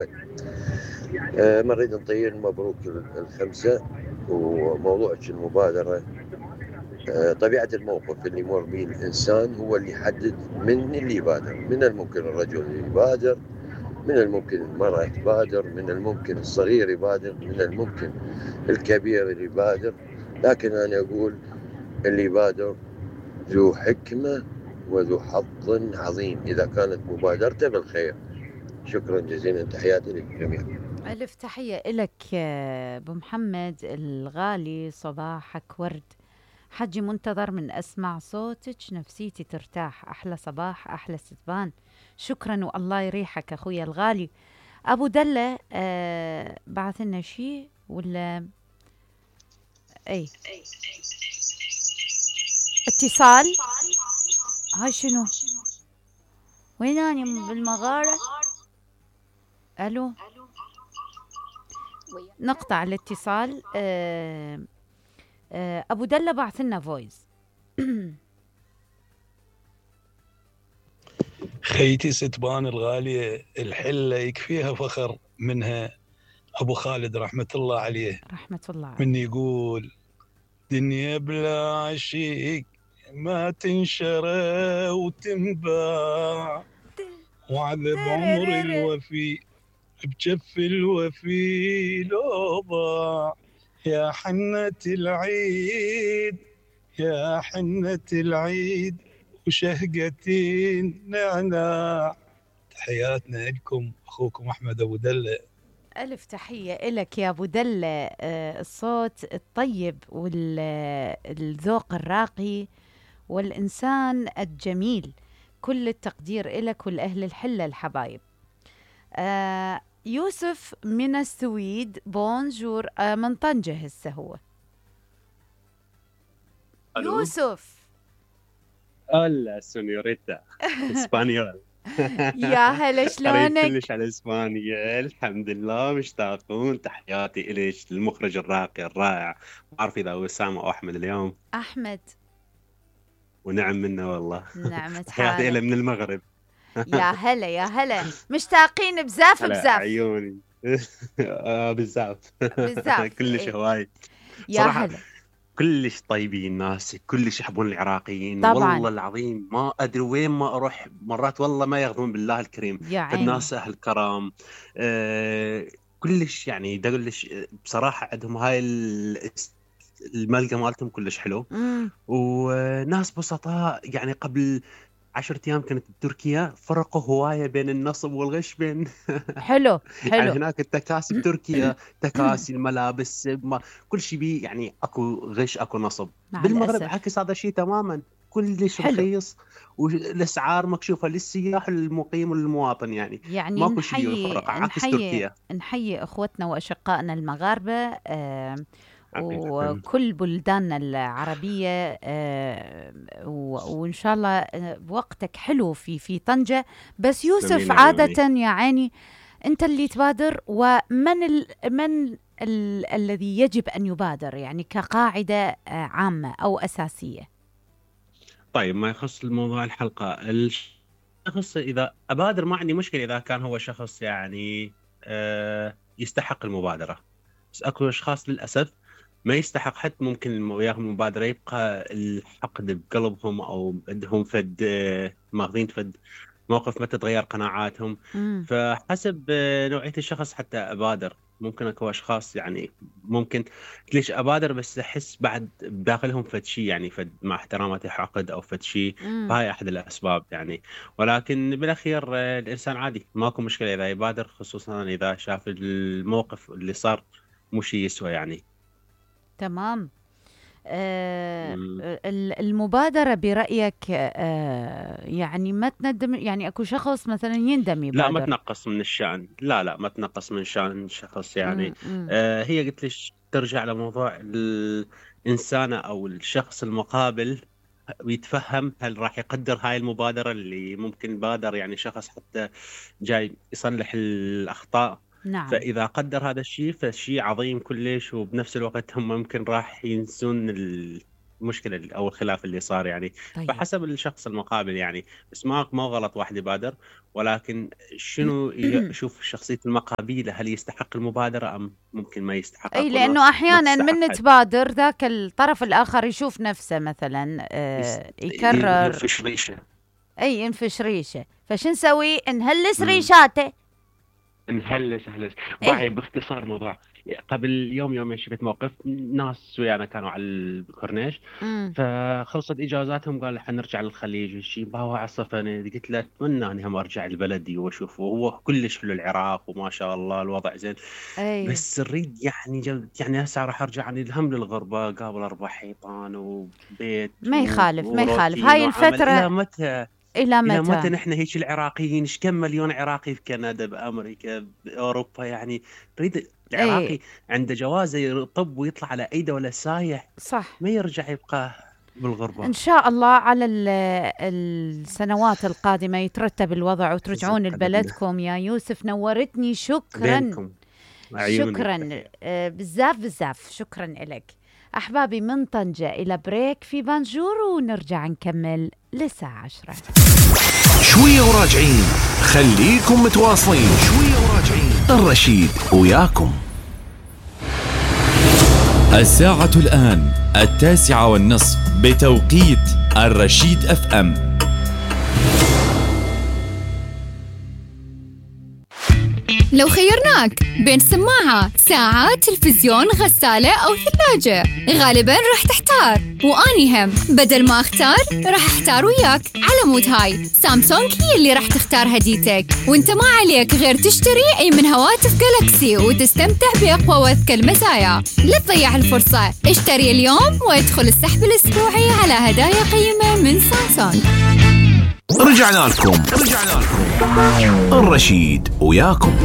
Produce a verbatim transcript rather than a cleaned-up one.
آه، نريد نطير مبروك الخمسة. وموضوعك المبادرة، آه، طبيعة الموقف اللي يمر به الإنسان هو اللي يحدد من اللي يبادر. من الممكن الرجل اللي يبادر، من الممكن المرأة تبادر، من الممكن الصغير يبادر، من الممكن الكبير اللي يبادر. لكن أنا أقول اللي يبادر ذو حكمة وذو حظ عظيم إذا كانت مبادرته بالخير. شكرا جزيلا، تحياتي للجميع. ألف تحية إلك يا أبو محمد الغالي، صباحك ورد. حجي منتظر من أسمع صوتك نفسيتي ترتاح. أحلى صباح، أحلى ستبان. شكرا والله يريحك أخويا الغالي. أبو دلة آه بعث لنا شيء ولا أي اتصال؟ هاي شنو؟ وين أنا بالمغارة؟ ألو، نقطع الاتصال. آه آه أبو دلة بعث لنا فويس. خيتي ستبان الغالية الحلة يكفيها فخر منها أبو خالد رحمة الله عليه، رحمة الله عليه. من يقول دنيا بلا عشيق ما تنشرى وتنباع، وعذب عمر الوفي بجف الوفي لو ضاع. يا حنة العيد يا حنة العيد وشهقتي النعناع. تحياتنا لكم أخوكم أحمد أبو دلة. ألف تحية إلك يا أبو دلة. آه الصوت الطيب والذوق الراقي والإنسان الجميل، كل التقدير إلك والأهل الحلة الحبايب. آه يوسف من السويد، بونجور. آه من طنجة هسه هو. ألو. يوسف هلا سونيوريتا اسبانيول. يا هلا، قريب شلونك؟ كلش على اسبانيا، الحمد لله مشتاقون. تحياتي إليك المخرج الراقي الرائع، ما أعرف إذا هو أسامة أو أحمد اليوم. أحمد. ونعم منه والله. نعمة تحياتي إليه حالك. من المغرب. يا هلا يا هلا، مشتاقين بزاف هلا بزاف عيوني. آه بالزاف. بزاف. كلش إيه. هواي يا صراحة. هلا. كلش طيبين الناس، كلش يحبون العراقيين، طبعا والله العظيم ما ادري وين ما اروح مرات والله ما ياخذون بالله الكريم. يا عيني. فالناس اهل كرم. آه كلش يعني دقلش بصراحه، عندهم هاي ال- الملقى مالتهم كلش حلو. امم وناس بسطاء يعني. قبل عشرة ايام كنت بتركيا، فرقوا هوايه بين النصب والغش بين. حلو يعني حلو. هناك التكاسي بتركيا، تكاسي الملابس ما كل شيء بيه يعني اكو غش اكو نصب. مع بالمغرب الأسف. عكس هذا الشيء تماما، كلش حلو. رخيص والاسعار مكشوفه للسياح والمقيم والمواطن يعني. يعني ماكو شيء بيه نحيي فرقه عكس نحيي تركيا. نحيي اخوتنا واشقائنا المغاربه، آه حقيقه وكل بلداننا العربيه. آه و- وان شاء الله آه، بوقتك حلو في في طنجه. بس يوسف، تسلمين عيوني. عاده يعني انت اللي تبادر، ومن ال من ال الذي يجب ان يبادر يعني كقاعده آه، عامه او اساسيه؟ طيب ما يخص الموضوع الحلقه، الشخص اذا ابادر ما عندي مشكله اذا كان هو شخص يعني آه يستحق المبادره. بس اكو اشخاص للاسف ما يستحق حتى ممكن وياهم المبادرة، يبقى الحقد بقلبهم أو عندهم فد آه، ماخذين فد موقف ما تتغير قناعاتهم. امم فحسب آه، نوعية الشخص حتى أبادر. ممكن اكو اشخاص يعني ممكن ليش ابادر بس احس بعد بداخلهم فد شيء يعني فد مع احتراماتي حقد او فد شيء. امم فهاي احد الاسباب يعني. ولكن بالاخير آه، الانسان عادي ماكو مشكلة اذا يبادر، خصوصا اذا شاف الموقف اللي صار مو شيء يسوى يعني. تمام. آه، مم. ال- المبادرة برأيك آه، يعني ما تندم، يعني أكو شخص مثلا يندم لا ما يبادر. تنقص من الشأن، لا لا ما تنقص من شأن الشخص يعني. مم، مم، آه هي قلت ليش ترجع لموضوع الإنسانة أو الشخص المقابل، ويتفهم هل راح يقدر هاي المبادرة اللي ممكن بادر يعني شخص حتى جاي يصلح الأخطاء. نعم. فإذا قدر هذا الشيء فشيء عظيم كلش، وبنفس الوقت هم ممكن راح ينسون المشكله او الخلاف اللي صار يعني. طيب. فحسب الشخص المقابل يعني، بس ما ما غلط واحد يبادر، ولكن شنو يشوف شخصيه المقابله، هل يستحق المبادره ام ممكن ما يستحق. اي لانه احيانا من تبادر ذاك الطرف الاخر يشوف نفسه مثلا آه يكرر ينفش ريشه. اي ينفش ريشه، فشو نسوي؟ نهلس ريشاته. نهلس هلس باعي. باختصار موضوع قبل يوم يومين شفت موقف ناس ويانا كانوا على الكورنيش، فخلصت اجازاتهم قال حنرجع للخليج شيء باوع عصفني. قلت له اتمنى اني هم ارجع لبلدي واشوف، وهو كلش حلو العراق وما شاء الله الوضع زين. أي. بس اريد يعني جد يعني هسه راح ارجع يعني الهم للغربه، قابل اربع حيطان وبيت ما يخالف ما يخالف هاي الفتره. الى متى إلى متى؟ إلى متى نحن هيك العراقيين؟ إيش كم مليون عراقي في كندا بأمريكا بأوروبا يعني. نريد العراقي أي. عنده جوازه يطب ويطلع على أي دولة سايح، صح، ما يرجع يبقى بالغربة. إن شاء الله على السنوات القادمة يترتب الوضع وترجعون لبلدكم. يا يوسف نورتني، شكرا بينكم. شكرا آه بزاف بزاف، شكرا لك. أحبابي من طنجة إلى بريك في بانجور ونرجع نكمل للساعة عشرة. شوية وراجعين، خليكم متواصلين. شوية وراجعين، الرشيد وياكم. الساعة الآن التاسعة والنصف بتوقيت الرشيد اف ام. لو خيرناك بين سماعة، ساعة، تلفزيون، غسالة أو ثلاجة، غالباً راح تحتار. وأني هم بدل ما أختار راح أحتار وياك. على مود هاي سامسونج هي اللي راح تختار هديتك، وانت ما عليك غير تشتري أي من هواتف جالاكسي وتستمتع بأقوى وأذكى المزايا. لا تضيع الفرصة، اشتري اليوم وادخل السحب الأسبوعي على هدايا قيمة من سامسونج. رجعنا لكم رجعنا لكم الرشيد وياكم.